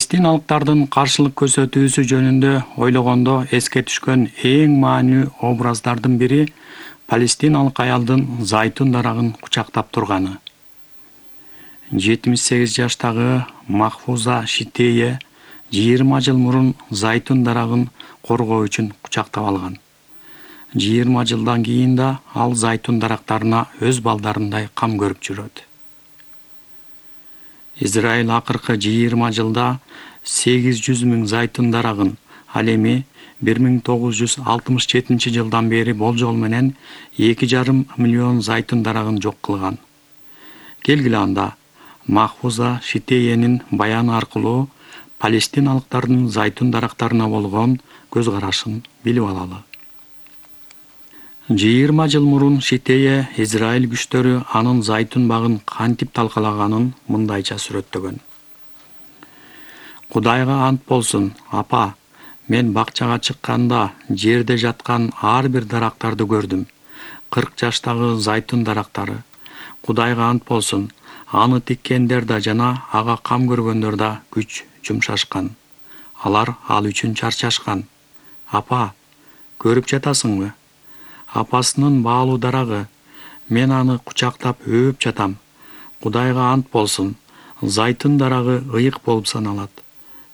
Палестиналыктардын каршылык көрсөтүүсү жөнүндө ойлогондо эске түшкөн эң маанилүү образдардын бири палестиналык аялдын зайтун дарагын кучактап турганы. 78 жаштагы Махфуза Шитее 20 жыл мурун зайтун дарагын коргоо үчүн кучактап алган. 20 жылдан кийин да ал зайтун дарактарына өз балдарындай кам көрүп жүрөт. Израиль акыркы 20 жылда 800 000 зайтун дарагын, ал эми 1967 жылдан бери болжол менен 2,5 миллион зайтун дарагын жок кылган. Келгиле анда Махфуза Шитеенин баяны аркылуу палестиналыктардын зайтун дарактарына болгон көз карашын билип алалы. 20 жыл мурун Шитее Израиль күчтөрү анын зайтун багын кантип талкалаганын мындайча сүрөттөгөн. Кудайга ант болсун, апа, мен бакчага чыкканда жерде жаткан ар бир дарактарды көрдүм. 40 жаштагы зайтун дарактары. Кудайга ант болсун, аны тиккендер да жана ага кам көргөндөр да күч жумшашкан. Алар ал үчүн чарчашкан. Апа, көрүп жатасыңбы? Апасынын баалуу дарагы, мен аны кучактап өөп жатам. Кудайга ант болсун, зайтун дарагы ыйык болуп саналат.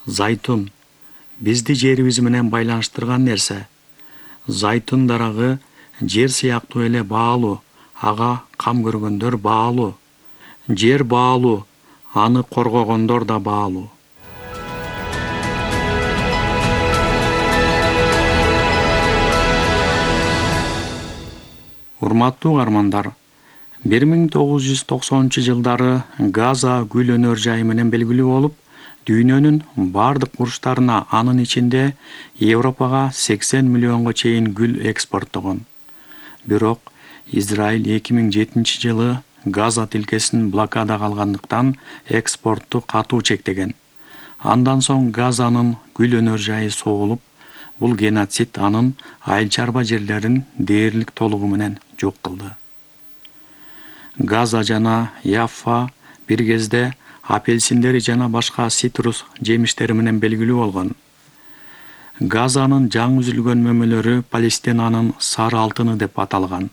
Зайтун бизди жерибиз менен байланыштырган нерсе. Зайтун дарагы жер сыяктуу эле баалуу, ага кам көргөндөр баалуу. Жер баалуу, аны коргогондор да баалуу. Урматтуу угармандар, 1990-жылдары Газа гүл өнөр жайы менен белгилүү болуп, дүйнөнүн бардык бурчтарына, анын ичинде Европага 80 миллионго чейин гүл экспорттогон. Бирок Израиль 2007 жылы Газа тилкесин блокадага алгандыктан экспортту катуу чектеген. Андан соң Газанын гүл өнөр жайы согулуп, бул геноцид анын айыл чарба жерлерин дээрлик толугу менен жок кылды. Газа жана Яффа бир кезде апельсиндери жана башка цитрус жемиштери менен белгилүү болгон. Газанын жаңы үзүлгөн мөмөлөрү Палестинанын сары алтыны деп аталган.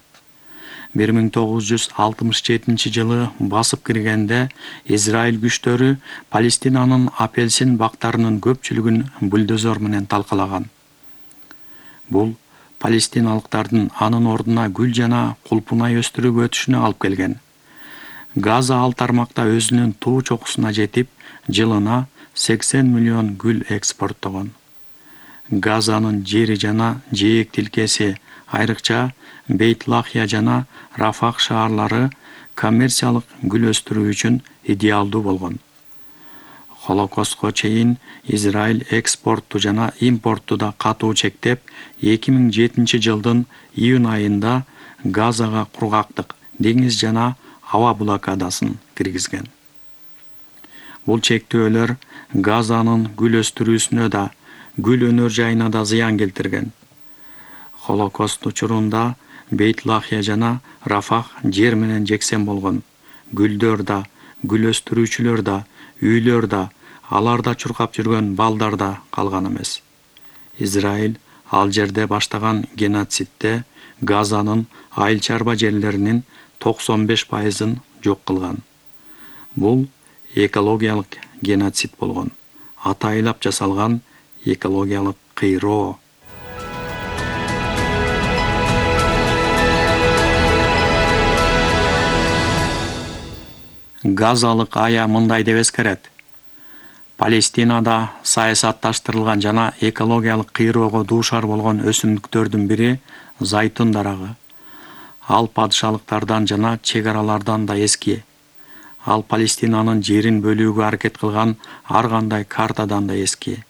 1967 жылы басып киргенде Израиль күчтөрү Палестинанын апельсин бактарынын көпчүлүгүн бульдозер менен талкалаган. Бул палестиналыктардын анын ордуна гүл жана кулпунай өстүрүп өтүшүнө алып келген. Газа ал тармакта өзүнүн туу чокусуна жетип, жылына 80 миллион гүл экспорттогон. Газанын жери жана жээк тилкеси, айрыкча Бейт-Лахия жана Рафах шаарлары коммерциялык гүл өстүрүү үчүн идеалдуу болгон. Холокостко чейин Израиль экспортту жана импортту да катуу чектеп, 2007 жылдын июнь айында Газага кургактык, деңиз жана аба блокадасын киргизген. Бул чектөөлөр Газанын гүл өстүрүүсүнө да, гүл өнөр жайына да зыян келтирген. Холокост учурунда Бейт-Лахия жана Рафах жер менен жексен болгон. Гүлдөр да, гүл өстүрүүчүлөр да, үйлөр да, аларда чуркап жүргөн балдар да калган эмес. Израиль ал жерде баштаган геноцидде Газанын айыл чарба жерлеринин 95%-ын жок кылган. Бул экологиялык геноцид болгон. Атайлап жасалган экологиялык кыйроо. Газалык ая мындай деп эскерет. Палестинада саясатташтырылган жана экологиялык кыйроого дуушар болгон өсүмдүктөрдүн бири зайтун дарагы. Ал падышалыктардан жана чек аралардан да эски. Ал Палестинанын жерин бөлүүгө аракет кылган ар кандай картадан да эски.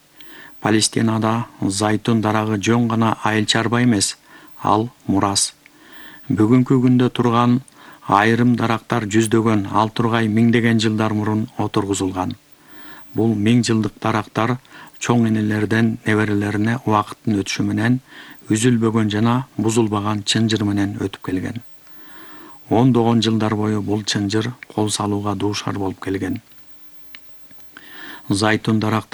Палестинада зайтун дарагы жөн гана айыл чарба эмес, ал мурас. Бүгүнкү күндө турган айрым дарактар жүздөгөн, ал тургай миңдеген жылдар мурун отургузулган. Бул 1000 жылдык дарактар чоң энелерден неберелерине убакыттын өтүшү менен үзүлбөгөн жана бузулбаган чынжыр менен өтүп келген. Ондогон жылдар бою бул чынжыр кол салууга дуушар болуп келген. Зайтун дарактары